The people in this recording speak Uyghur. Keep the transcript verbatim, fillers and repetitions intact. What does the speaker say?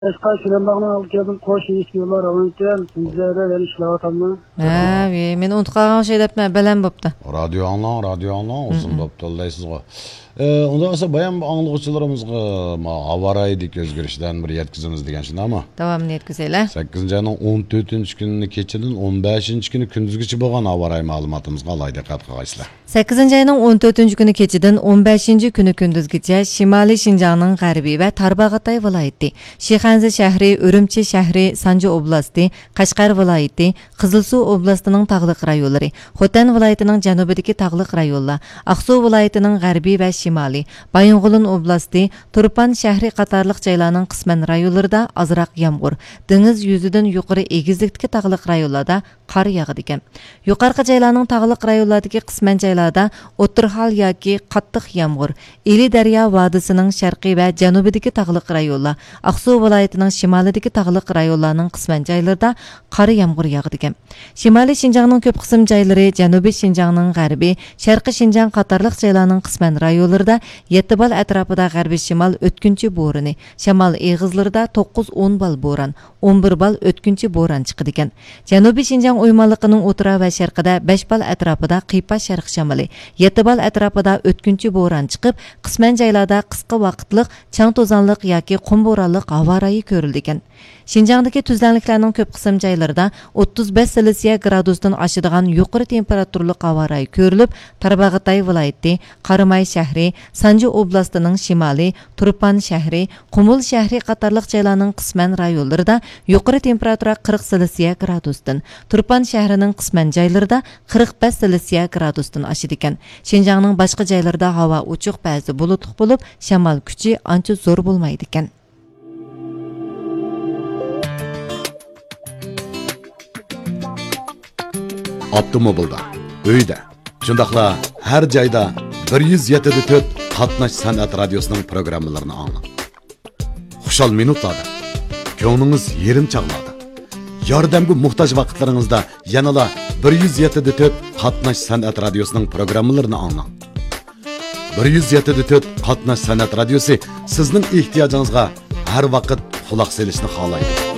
ئەسقەر شىرىنباغنىڭ ئالدىغا كەلدىم، قوش ئىشىكلار ئاۋۇنىكەن، مۇزەررە يەنە ئىشلەۋاتامدۇ؟ ھە، ۋى، مېنى ئۇنتۇپ قالغان ئوخشايدۇ دەپمەن، بەلەن بوپتۇ. رادىيو ئاڭلاڭ، رادىيو ئاڭلاڭ، ئۇزۇن بوپتۇ دەيسىزغۇ. ئە، ئۇنداق بولسا بايام ئاڭلىغۇچىلىرىمىزغا ما ھاۋا رايىدىكى ئۆزگىرىشلەرنى بىر يەتكۈزىمىز دېگەن شۇنداقمۇ؟ داۋامىنى يەتكۈزەيلى. سەككىزىنچى ئاينىڭ ئون تۆتىنچى كۈنى كېچىدىن ئون بەشىنچى كۈنى كۈندۈزگىچە بولغان ھاۋا رايى مەلۇماتىمىزغا ئالاھىدە دىققەت قىلغايسىلەر. سەككىزىنچى ئاينىڭ ئون تۆتىنچى كۈنى كېچىدىن ئون بەشىنچى كۈنى كۈندۈزگىچە شىمالىي شىنجاڭنىڭ غەربىي ۋە تارباغاتاي ۋىلايىتى، شىخەنزە شەھىرى، ئۈرۈمچى شەھىرى، سانجى ئوبلاستى، قەشقەر ۋىلايىتى، قىزىلسۇ ئوبلاستىنىڭ تاغلىق رايونلىرى، خوتەن ۋىلايىتىنىڭ جەنۇبىدىكى تاغلىق رايونلار، ئاقسۇ ۋىلايىتىنىڭ غەربىي ۋە شىمالىي، بايىنغولىن ئوبلاستى، تۇرپان شەھىرى قاتارلىق جايلارنىڭ قىسمەن رايونلىرىدا ئازراق يامغۇر، دېڭىز يۈزىدىن يۇقىرى ئېگىزلىكتىكى تاغلىق رايونلاردا قار ياغىدىكەن. يۇقارقى جايلارنىڭ تاغلىق رايونلاردىكى قىسمەن جايلاردا ئوتتۇرا ھال ياكى قاتتىق يامغۇر، ئىلى دەريا ۋادىسىنىڭ شەرقىي ۋە جەنۇبىدىكى تاغلىق رايونلار، ئاقسۇ ۋىلايىتىنىڭ شىمالىدىكى تاغلىق رايونلارنىڭ قىسمەن جايلىرىدا قارا يامغۇر ياغىدىكەن. شىمالىي شىنجاڭنىڭ كۆپ قىسىم جايلىرى، جەنۇبىي شىنجاڭنىڭ غەربى، شەرقىي شىنجاڭ قاتارلىق جايلارنىڭ قىسمەن رايونلىرىدا يەتتە بال ئەتراپىدا غەربىي شىمال ئۆتكۈنچى بورىنى، شامال ئېغىزلىرىدا توققۇز ئون بال بوران، ئون بىر بال ئۆتكۈنچى بوران چىقىدىكەن. جەنۇبىي شىنجاڭ ئويمانلىقىنىڭ ئوتتۇرا ۋە شەرقىدە بەش بال ئەتراپىدا قىيپاش شەرق شامىلى، يەتتە بال ئەتراپىدا ئۆتكۈنچى بوران چىقىپ، قىسمەن جايلاردا قىسقا ۋاقىتلىق چاڭ توزانلىق ياكى قۇم بورانلىق ھاۋا رايى كۆرۈلىدىكەن. شىنجاڭدىكى تۈزلەڭلىكلەرنىڭ كۆپ قىسىم جايلىرىدا ئوتتۇز بەش سېلسىيە گرادۇستىن ئاشىدىغان يۇقىرى تېمپېراتۇرىلىق ھاۋا رايى كۆرۈلۈپ، تارباغاتاي ۋىلايىتى، قاراماي شەھىرى، سانجى ئوبلاستىنىڭ شىمالى، تۇرپان شەھىرى، قۇمۇل شەھىرى قاتارلىق جايلارنىڭ قىسمەن رايونلىرىدا يۇقىرى تېمپېراتۇرا قىرىق سېلسىيە گرادۇستىن، تۇرپان شەھىرىنىڭ قىسمەن جايلىرىدا قىرىق بەش سېلسىيە گرادۇستىن ئاشىدىكەن. شىنجاڭنىڭ باشقا جايلىرىدا ھاۋا ئوچۇق، بەزىدە بۇلۇتلۇق بولۇپ، شامال كۈچى ئانچە زور بولمايدىكەن. ئاپتوموبىلدا، ئۆيدە، شۇنداقلا ھەر جايدا بىر يۈز يەتتە تۆت قاتناش سەنئەت رادىيوسىنىڭ پروگراممىلىرىنى ئاڭلاڭ. خۇشال مىنۇتلاردا، كۆڭلىڭىز يېرىم چاغلاردا، ياردەمگە موھتاج ۋاقىتلىرىڭىزدا يەنىلا بىر يۈز يەتتە تۆت قاتناش سەنئەت رادىيوسىنىڭ پروگراممىلىرىنى ئاڭلاڭ. بىر يۈز يەتتە تۆت قاتناش سەنئەت رادىيوسى سىزنىڭ ئېھتىياجىڭىزغا ھەر ۋاقىت قۇلاق سېلىشنى خالايدۇ.